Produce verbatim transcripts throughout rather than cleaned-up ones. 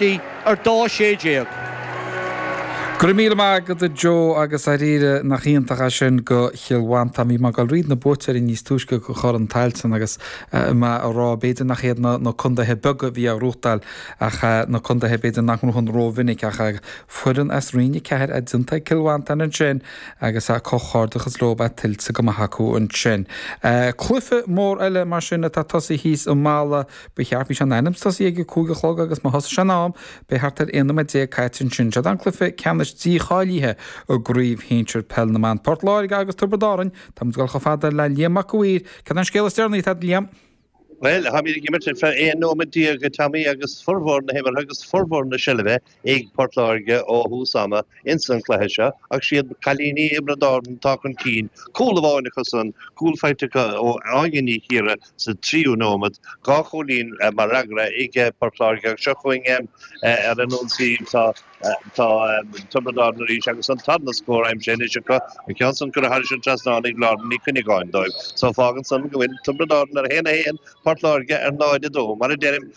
ar dó sé déag. Go raibh míle maith agat a Joe agus dáiríre nach iontach é sin do Chill Mhantáin bhí mé ag dul thríd na buaiteoirí níos túisce go Chorn Tailteann agus má a rá b'fhéidir nach iad na na contaetha beaga a bhí á ghnóthachtáil ach na contaetha b'fhéidir nach ngnóthaíonn rómhinic ach foireann as Roinn a ceathair a déanta ag Cill Mhantáin ansin agus a comhghairdeachas leo tuillte go maith acu ansin. Cluiche mór eile mar sin atá tosaithe thíos i Mala ba cheart bhí sé in ainm tosaí ag cúig a chlog agus má thosaigh sé in am beidh thart ar aon nóiméad déag caite ansin sé an cluiche ceannais dícháilithe i gcraobh shinsir peil na mban Port Láirge agus Tiobraid Árann Tá gol chomh fada le Liam Mac Uidhir Cad an scéal is deireanaí tá Liam. Well tá ag imirt ar aon nóiméad déag Tommy agus formhór na himeartha agus formhór na seilbhe ag Port Láirge ó thús ama ins an cluiche seo ach siad cailíní Thiobraid Árann atá chun cinn cúl amháin acu san cúl faighte ó Áine Ní Chiara sa tríú nóiméad dhá chúilín mar fhreagra ag Port Láirge seo chugainn ar an ionsaí tá tá Tiobraid Árann arís agus an tarna scór aimsithe anois acu an ceann san curtha thar an trasnán ag Lauren Ní Chuinneagáin dóibh. So fágann san go bhfuil Tiobraid Árann ar haon a haon Port Láirge ar náid a dó mar a deirim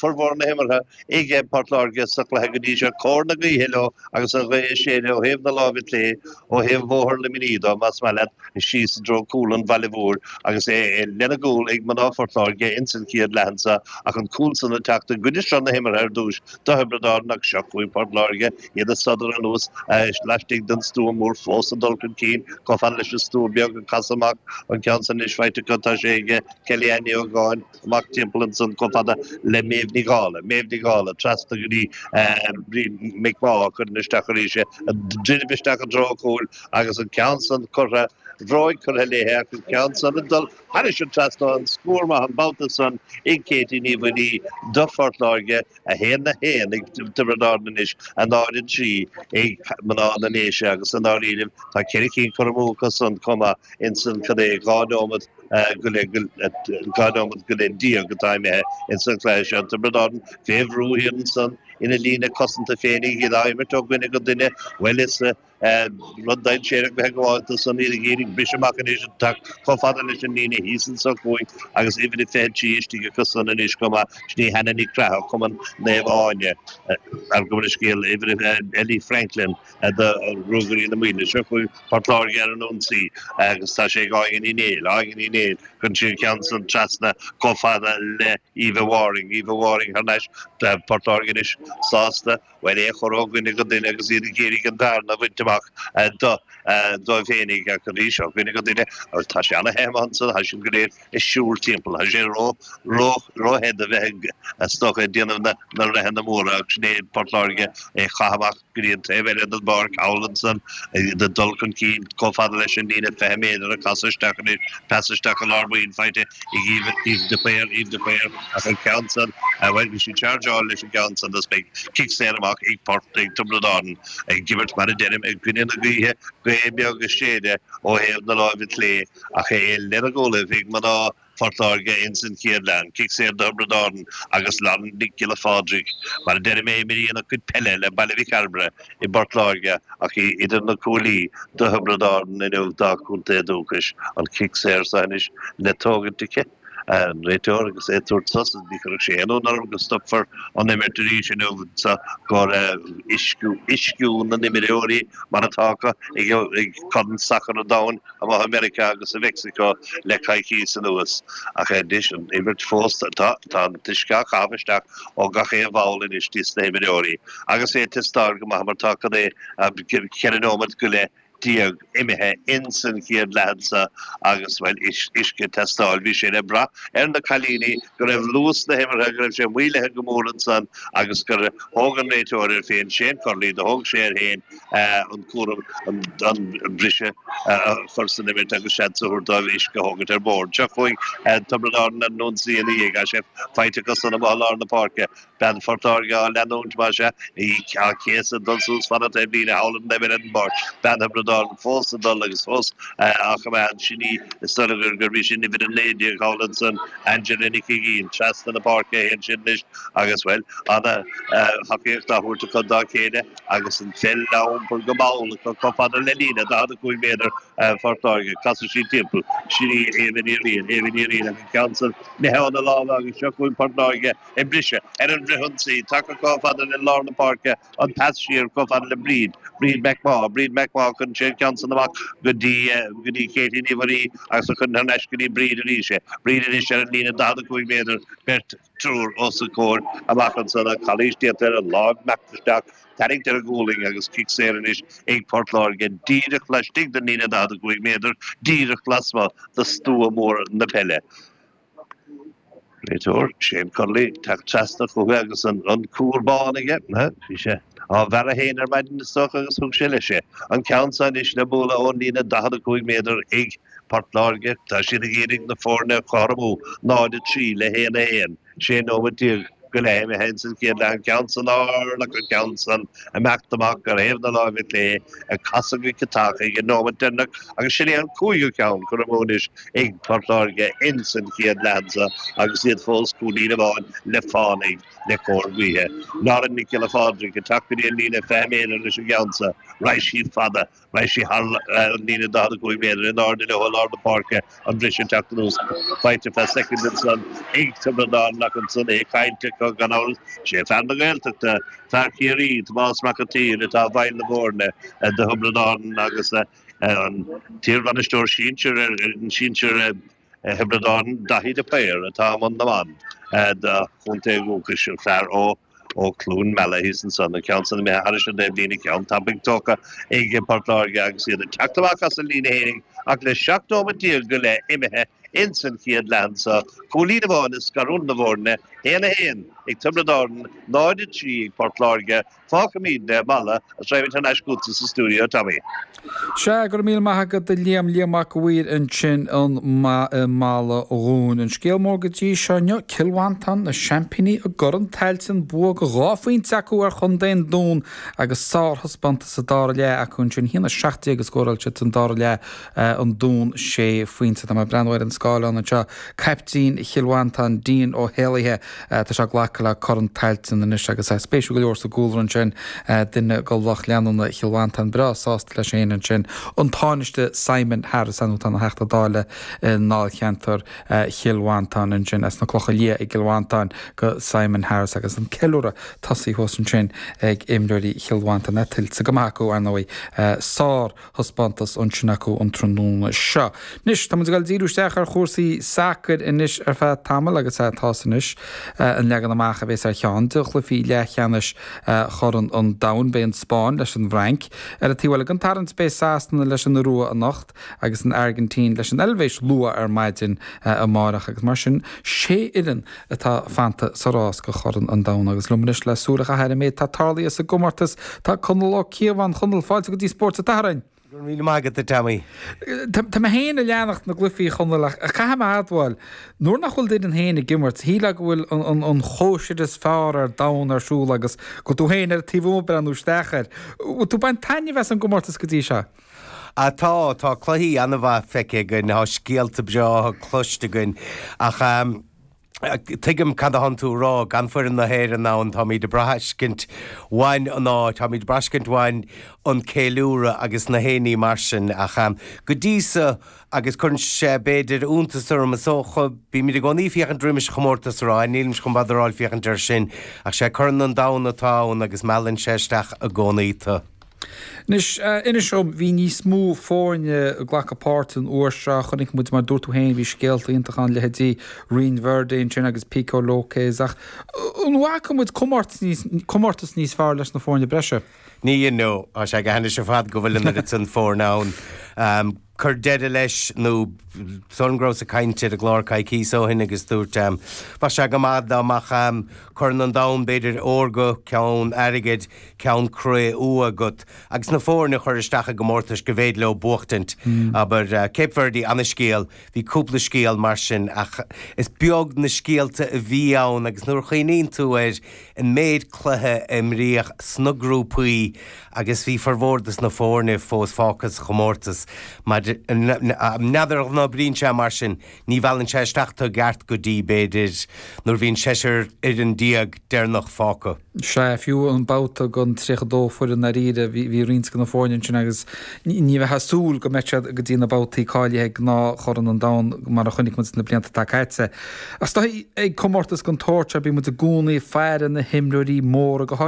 formhór na himeartha ag Port Láirge sa chluiche go dtí seo cóir na gaoithe leo agus an ghaoth ag séideadh ó thaobh na láimhe clé ó thaobh Bhóthar Luimnigh dó más maith leat síos i dtreo cúl an Bhaile Mhóir agus é lena gcúl ag mná Phort Láirge ins an chéad leath anseo ach an cúl san ag teacht i gcuid seo na himeartha ar dtús do Thiobraid Árann ach seo chugainn Port Láirge iad ag sodar anuas laistigh den stua mór fós ag dul chun cinn chomh fada leis an stua beag ag casadh amach an ceann san anois faighte acu tá sé ag Kelly Annie Ógáin amach timpeall ansan chomh fada le Méabh Ní Dhála Méabh Ní Dhála trasna go dtí Bríd McMaugh chuireann isteach arís druidim isteach an treo cúil agus an ceann san curtha bhróig curtha léithe ach an ceann san ag dul thairis an trasnán an scór maith an babhta san ag Katie Ní Mhaonaigh do Phort Láirge a haon a haon ag Tiobraid Árann anois a náid a trí ag mná na nDéise agus an áirílim tá ceithre cinn curtha amú acu san chomh maith insan cad é dhá nóiméad go dhá nóiméad go leith déag atá imithe insan chluiche seo Tiobraid Árann fé bhrú thiar ansan ina líne cosanta féinig iad á imirt ó dhuine go duine bhuel is rud dainséarach bheith gabháil san iad ag iarraidh briseadh amach anois chomh fada leis an líne thíos anseo chugainn agus uimhir a fiche trí istigh acu san anois chomh maith sin í Hannah Ní Chreathach Cumann Naomh Áine ar go bhfuil scéal uimhir Ellie Franklin do Ruagairí na Maoile seo chugainn Port Láirge ar an ionsaí agus tá sé ag Áine Ní Néill Áine Ní Néill chun sin ceann san trasna chomh fada le Eva Waring Eva Waring thar n-ais Port Láirge anois sásta bhuel é chur ó dhuine go duine agus iad ag iarraidh an bhearna a bhaint amach do dóibh féinig ach arís ó dhuine go duine agus tá sé ana-the ansan tá siad go léir ag siúl timpeall Tá sé ró ró róthe a bheith stocha ag déanamh na na reitheanna móra ach sin é Port Láirge é chaitheamh amach go dtí an taobh eile den bpáirc thall ansan ag dul chun cinn chomh fada leis an líne fiche méadar a casadh isteach anois pas isteach i lár baill faighte ag Eve de Paor Eve de Paor ach an ceann san bhuel bhí sí chargeáil leis an gceann san beidh cic saor amach ag Port ag Tiobraid Árann ag imirt mar a deirim i gcoinne na gaoithe gaoth beag ag séideadh ó thaobh na láimhe clé ach é lena gcúlaibh ag mná Phort Láirge ins an chéad leath cic saor do Thiobraid Árann agus Lauren Nic Giolla Phádraig mar a deirim é imríonn a cuid peile le Baile Mhic Cairbre i bPort Láirge ach í idir na cuaillí do Thiobraid Árann inniu dá chontae dúchais an cic saor seo anois le tógaint aici an réiteoir agus é tabhairt sos ní chuirfeadh sé aon ionadh orm go stopfar an imirt arís inniu sa gur uisciú uisciú na n-imreoirí mar atá acu ag ag Corn Sacair an Domhain amach i Meiriceá agus i Meicsiceo le coicís anuas ach anois an imirt fós tá tá an t-uisce á chaitheamh isteach ó gach aon bhall anois dos na himreoirí agus é teastáil go maith mar tá cad é ceithre nóiméad go leith déag imithe ins an chéad leath anseo agus bhuel uisce teastáil bhí sé le brath ar na cailíní go raibh luas na himeartha go raibh sé maolaithe go mór ansan agus gur thóg an réiteoir air féin Shane Curley do thóg sé air féin an cúram an briseadh a chur san imirt agus seans a thabhairt dóibh uisce a thógaint ar bord. Seo chugainn Tiobraid Árann ar an ionsaí ina dhiaidh sé faighte acu san amuigh i lár na páirce bean Phort Láirge á leanúint mar se á céasadh dul suas fan an taobh líne thall an taobh eile den bpáirc bean Thiobraid Árann fós ag dul agus fós á choimeád sin í is dóigh gur gur bhí sin uimhir a naoi déag thall ansan Angela Nic Uiginn trasna na páirce a théann sin anois agus bhuel ana thacaíocht á thabhairt acu dá chéile agus an pheil á iompar go mall acu chomh fada le líne daichead a cúig méadar Phort Láirge. Casann sí timpeall. Sin í Éabha Ní Riain, Éabha Ní Riain agus ceann san imithe óna lámha agus seo chugainn Port Láirge ag briseadh ar an bhfrithionsaí. Tagtha chomh fada le lár na páirce, an pas siar chomh fada le Bríd, Bríd McMaugh, Bríd McMaugh cuireann sí an ceann san amach go dtí go dtí Katie Ní Mhuirí agus a chuireann thar n-ais go dtí Bríd arís é. Bríd anois ar an líne daichead a cúig méadar, beirt, triúr os a comhair amach ansan ach calaois déanta ar an lámh imeacht isteach, tarraingt ar an ngualainn agus cic saor anois ag Port Láirge díreach laistigh den líne daichead a cúig méadar, díreach lasmuigh de stua mór na peile. Réiteoir, Shane Connolly, ag teacht trasna chucu agus an cuar bán aige. Bhí sé á bhearradh féin ar maidin is dócha agus thug sé leis é. An ceann seo anois le bualadh ón líne daichead a cúig méadar ag Port Láirge. Tá siad ag iarraidh na foirne a chothromú, náid a trí le haon a haon, sé nóiméad déag go leith imithe ins an chéad leath, an ceann san ard ach an ceann san imeacht amach ar thaobh na láimhe clé, ag casadh go ciotach ag an nóiméad deireanach agus sin é an cúigiú ceann curtha amú anois ag Port Láirge ins an chéad leath anso agus iad fós cúilín amháin le fán ag le cóir gaoithe. Lauren Nic Giolla Phádraig ag teacht go dtí an líne fiche méadar leis an gceann so. Raghaidh sí fada. Raghaidh sí thar an líne daichead a cúig méadar in airde leo i lár na páirce, an briseadh ag teacht anuas faighte feadh soicind ansan ag Tiobraid Árann ach ansan é caillte acu gan amhras. Sé fear na Gaeltachta, fear Chiarraí, Tomás Mac an tSaoir atá i bhfeighil na bhfoirne do Thiobraid Árann agus an t-iarbhainisteoir sinsir ar fhoireann sinsir Thiobraid Árann, Daithí de Paor, atá i mbun na mban dá chontae dhúchais, an fear ó ó Chluain Meala thíos ansan, an ceann san imithe thairis an dtaobhlíne, ceann tapaidh tógtha ag Port Láirge agus iad ag teacht amach as an líne fhéinig ach le seacht nóiméad déag go leith imithe ins an chéad leath anso, cúilín amháin ag scarúint na bhfoirne, haon a haon ag Tiobraid Árann, náid a trí ag Port Láirge. Fágfaimid le Mala agus raghaimid thar n-ais chugatsa sa stiúideo, Tommy. Sea, go raibh míle maith agat a Liam, Liam Mac a' Mhaoir ansin i mBaile Dhúin. An scéal mór go dtí seo inniu, Cill Mhantáin, na seaimpíní i gCorn Tailteann, bua de dhá phointe acu ar Chontae an Dúin agus sárthaispeántas sa dara leath acu ansin, a haon a seacht déag a scóráil siad san dara leath, an Dún sé phointe. Tá mé ag breathnú ar an scáileán anseo, caiptín Chill Mhantáin, Dean Ó hÉalaithe, tá sé ag glacadh le Corn Tailteann anois agus spéisiúil go leor sa gcúlra ansin, duine de lucht leanúna Chill Mhantáin breá sásta leis féin ansin, an Tánaiste Simon Harris, ar ndóigh atá ina Theachta Dála i ndáilcheantar Chill Mhantáin ansin, as na Clocha Liatha i gCill Mhantáin go Simon Harris agus an ceiliúradh tosaithe thuas ansin ag imreoirí Chill Mhantáin, tuillte go maith acu ar ndóigh, sár. thaispeántas ansin acu an tráthnóna seo. Anois, tá muid ag dul díriú isteach ar chúrsaí sacair anois ar feadh tamaill agus tá a fhios anois an leagan amach a bheas ar cheann de chluichí leathcheannais Chorn an Domhain. Beidh an Spáinn leis an bhFrainc ar an taobh eile den tarraingt, beidh Sasana leis an Iorua anocht agus an Airgintín leis an Eilvéis luath ar maidin amárach agus mar sin sé fhoireann atá fanta sa rás go Chorn an Domhain agus liom anois le súil a chaitheamh ar an méid atá tarlaithe sa gcomórtas tá Conall Ó Cíobháin. Chonaill, fáilte go dtí Spórt an tSathairn. Go raibh míle maith agat, a Tommy. Tá mé féin ag leanacht na gcluichí, a Chonaill, ach caithfidh mé a admháil, nuair nach bhfuil d'fhoireann féin ag imirt, shílfeá go bhfuil an chóisir is fearr ar domhan ar siúl agus go bhfuil tú féin ar an taobh amuigh ag breathnú isteach air. Bhfuil tú ag baint taitneamh as an gcomórtas go dtí seo? Ah tá, tá cluichí an-mhaith feicthe againn, tá scéalta breátha cloiste againn ach tuigim cad atánn tú a rá, gan foireann na hÉireann ann, táimid ag braithscint uainn an áit, táimid ag braithscint uainn an ceiliúradh agus na haon ní mar sin ach go dtí so agus cuireann sé b'fhéidir iontas orm is dócha, bímid i gcónaí féachaint roimis chomórtas a rá, nílimse chun bother a fháil féachaint air sin ach sé Corn an Domhain atá ann agus meallann sé isteach i gcónaí tú. Anois, inis dom, bhí níos mó foirne ag glacadh páirte an uair seo, chonaic muid, mar dúirt tú féin, bhí scéalta iontacha ann, leithéidí Ryan Verde ansin agus Pico Lopes, ach an bhfaca muid comórtas níos, comórtas níos fearr leis na foirne breise? Ní, you know, tá sé go hainnis ar fad go bhfuil an oiread san foirne ann. Cuir deireadh leis nó sílim go rabhas ag caint ar an gclár coicíos ó shin agus dúirt, bheadh sé go maith dá mbeadh Corn an Domhain, b'fhéidir órga, ceann airgid, ceann cré-umha agat agus na foirne a chur isteach i gcomórtais go bhféidir leo buachtaint. Abair, Cape Verde, ana-scéal, bhí cúpla scéal mar sin ach is beag na scéalta a bhí ann agus nuair a chuimhníonn tú ar an méid cluiche a imríodh sna grúpaí agus bhí formhór dos na foirne fós fágtha sa chomórtas maidir N'fheadar an oibríonn sé mar sin, ní mheallann sé isteach tú i gceart go dtí, b'fhéidir, nuair a bhíonn seisear fhoireann déag deireanach fágtha. Sea, fiú an babhta den tríocha dó foireann dáiríre, bhí roinnt de na foirne ansin agus ní bheifeá ag súil go mbeadh siad go dtí na babhtaí cáilithe ag gnáth-Chorn an Domhain mar a chonaic muid sna blianta atá caite. Ach is dóigh ag comórtas den tsórt seo bíonn muid i gcónaí ag faire na himreoirí móra go háirithe.